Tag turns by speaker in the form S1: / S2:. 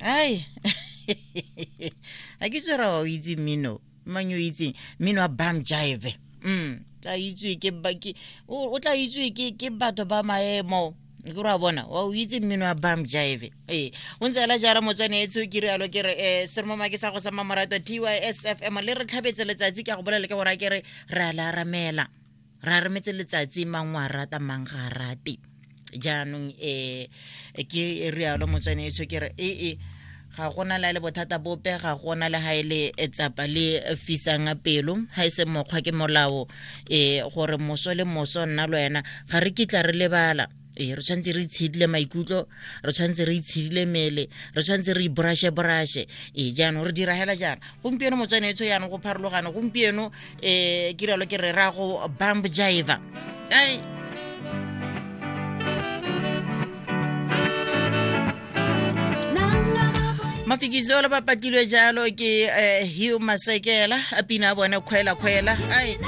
S1: Ai, ga ke tswera wa o itse mmino mang yo o itseng mmino wa bam jive. Tla itsewe ke o tla itsewe ke batho ba maemo ke re wa bona wa o itse mmino wa bam jive. Ee, o ntse ela jara motswane etsho, ke rialo ke re seromoma ke sa go sa mamorato TYSFM le re tlhabetse letsatsi. Ke a go bolela ke gore ke re re a le aramela, re arametse letsatsi, mang wa rata, mang ga a rate. Jaanong ke rialo motswane etsho, ke re ee, ga gona le le bothata bope, ga gona le ga e le tsapa le fisang pelo, ga e se mokgwa ke molao gore moso le moso nna le wena ga re kitla re lebala. Ee, re tshwanetse re itshedile maikutlo, re tshwanetse re itshedile mele, re tshwanetse re iborashe borashe. Ee, jaanong re dira hela jaana gompieno motswane etsho, jaanong go pharologano gompieno. Ke rialo ke re ra go bump jiva. Ai, mafikisolo ba patilwe jalo ke Hugh Masekela, a pina a bone kgwela kgwela. Ai.